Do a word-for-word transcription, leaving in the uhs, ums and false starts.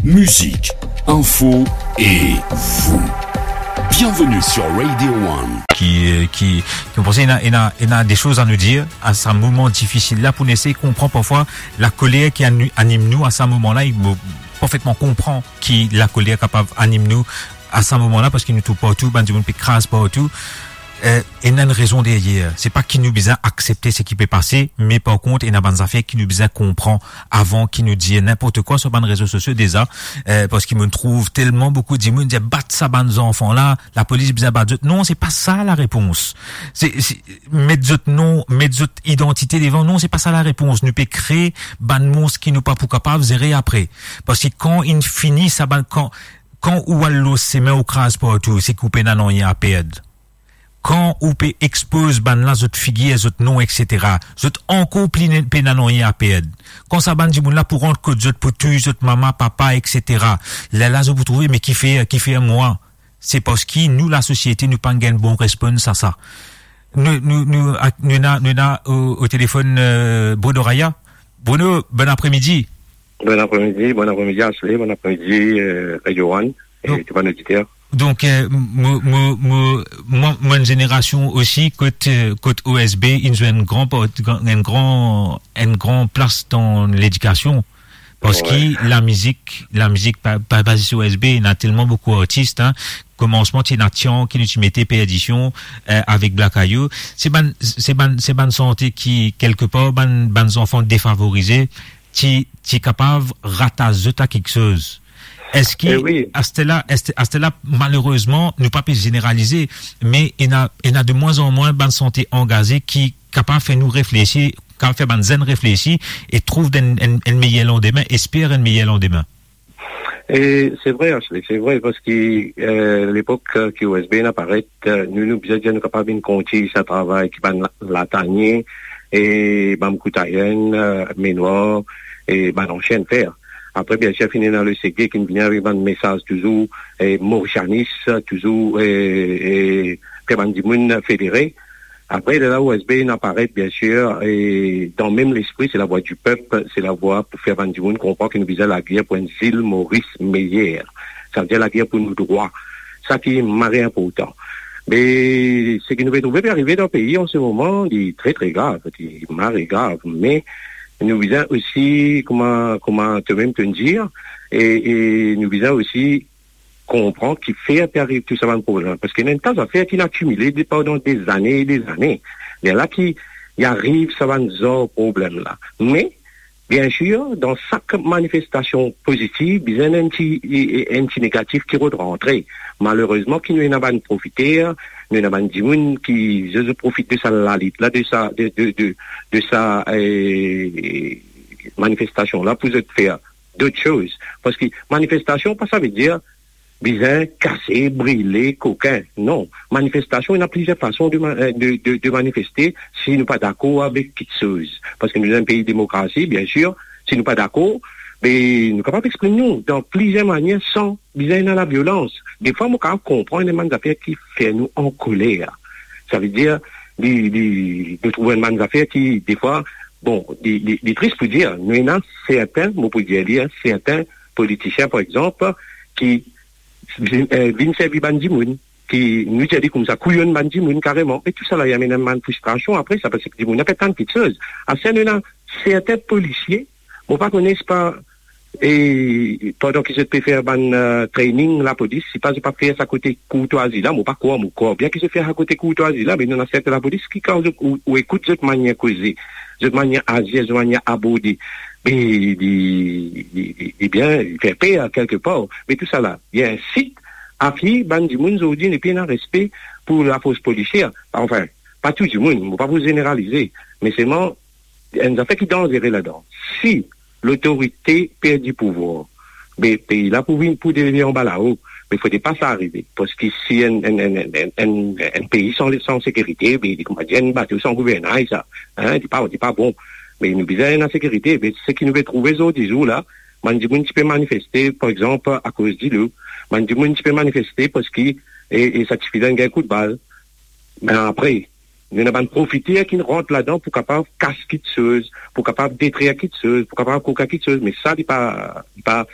Musique, info et vous. Bienvenue sur Radio One. Ki, euh, ki, ki, nou panse ena, ena, ena de soz a nou dir a sa moman difisil la, pou nou esey konpran parfwa lakoler ki ani-, anim nou a sa moman la. Mo parfetman konpran ki lakoler kapav anim nou a sa moman la, parski nou trouv partou, bann dimoun pe kraz partou. Eh, ena enn rezon deryer. Se pa ki nou bizin aksepte seki pe pase, me par kont, ena bann zafer ki nou bizin konpran avan ki nou dir ninport kwa sur bann rezo sosio deza, eh, parski mo trouv telman boukou dimoun dir, "Bat sa bann zanfan la, lapolis bizin bat zot." Non, se pa sa larepons. Se, se, met zot non, met zot idantite devan, non, se pa sa larepons. Nou pe kree bann mons ki nou pa pou kapav zere apre. Parski kan inn fini sa bann, kan, kan ou al lor sime ou kraz partou, se ki ou pena nanye a perd. Kan ou pe expoz bann la zot figir, zot non, et cetera, zot ankor pli ne-, pena nanye a perd. Kan sa bann dimoun la pou rant kot zot, pou touy zot mama, papa, et cetera, lerla zot pou trouve, me kifer, kifer mwa? Se parski nou, lasosiete, nou pa gagn bon respons a sa. Nou, nou, nou, ak-, nou ena, nou ena o, o telefonn, euh, Bruno Raya. Bruno, bon apremidi. Bon apremidi, bon apremidi Ashley, bon apremidi, euh, Radio One, e tou bann oditer. Donk, euh, mo, mo, mo, mwa, mo enn zenerasion osi kot, euh, kot O S B inn zwe enn gran par-, gran, enn gran, enn gran plas dan ledikasion. Parski lamizik, lamizik pa, pa, pa zis O S B, ena telman boukou artis, hein. Komansman, ti ena Tian ki nou ti mete Perdition, euh, avek Black Ayou. Se bann, se bann, se bann sante ki, kelkepar, bann, bann zanfan defavorize, ti, ti kapav ratas zot a kiksoz. Eski, eh wi, aster la, aster, aster la, malerezman, nou pa pe zeneralize, me ena, ena de mwin an mwin bann sante angaze ki kapav fer nou reflesi, kapav fer bann zenn reflesi e trouv enn, enn, enn meyer landime, esper enn meyer landime? E se vre, Ashley, se vre, parski, euh, lepok, euh, ki O S B inn aparet, euh, nou, nou bizin dir nou kapav vinn kontign sa travay ki bann La-, Latanie e bann Koutayenn, euh, Menwar e bann ansien fer. Apre, biensir, finn ena le Sege ki vinn avek bann mesaz touzour, e Morisanis, touzour, e, e fer bann dimoun federe. Apre, lerla O S B inn aparet, biensir, e dan mem lespri, se lavwa di pep, se lavwa pou fer bann dimoun konpran ki nou bizin lager pou enn zil Moris meyer. Savedir lager pou nou drwa. Sa ki mari inportan. Me seki nou pe trouve pe arive dan pei an se moman, li tre, tre grav, li mari grav. Me nou bizin osi, kouma, kouma to mem to'nn dir, e, e nou bizin osi konpran kifer pe ariv tou sa bann problem. Parski ena enn ta zafer ki inn akimile de, pandan dezane e dezane. Lerla ki, ki ariv sa bann zar problem la. Me, biensir, dan sak manifestasion pozitiv, bizin enn ti, enn ti negatif ki rod rantre. Malerezman, ki nou ena bann profiter, nou ena bann dimoun ki, zot, zot profit de sa lalit la, de sa, de, de, de, de sa, eh, manifestasion la pou zot fer dot soz. Parski manifestasion pa savedir bizin kase, brile, kokin. Non. Manifestasion, ena plizier fason de ma-, eh, de, de, de manifeste si nou pa dakor avek kiksoz. Parski nou dan enn pei demokrasi, biensir, si nou pa dakor, be nou kapav exprim nou dan plizier manier san bizin ena laviolans. Defwa, mo kapav konpran enn bann zafer ki fer nou ankoler. Savedir, li, li, nou trouv enn bann zafer ki, defwa, bon, li, li, li tris pou dir, nou ena sertin, mo pou dir li, hein, sertin politisien, par exanp, ki vinn, eh, vinn servi bann dimoun, ki nou dir li koumsa, kouyonn bann dimoun kareman. E tou sa la, li amenn bann fristrasion apre sa, parski dimoun la pe atann kiksoz. Aster nou ena sertin polisie, mo pa kone si pa, e pandan ki zot pe fer bann, eh, training lapolis, si pa zot pa fer sa kote kourtwazi la, mo pa krwar, mo krwar bien ki zot fer sa kote kourtwazi la, me nou ena sertin lapolis ki kan zot, ou, ou ekout zot manier koze, zot manier azir, zot manier aborde, be li, li, li, li bien, li fer per kelkepar. Me tou sa la, li insit a ki bann dimoun zordi nepli ena respe pou lafors polisier. Anfin, pa tou dimoun, mo pa pou zeneralize, me selman, enn zafer ki danzere ladan. Si lotorite perdi pouvwar, be pei la pou vinn, pou devien anba lao, be fode pa sa arive. Parski si enn, enn, enn pei san, san sekirite, be li kouma dir enn bato san gouvernay sa. Hein, li pa, li pa bon. Me nou bizin ena sekirite. Be seki nou pe trouve zordi zour la, bann dimoun ti pe manifeste, par exanp, akoz dilo. Bann dimoun ti pe manifeste parski, e, e sa tifi la inn gagn kout bal. Me apre, nou ena bann profiter ki rant ladan pou kapav kas kiksoz, pou kapav detrir kiksoz, pou kapav kokin kiksoz, me sa li pa, li pa,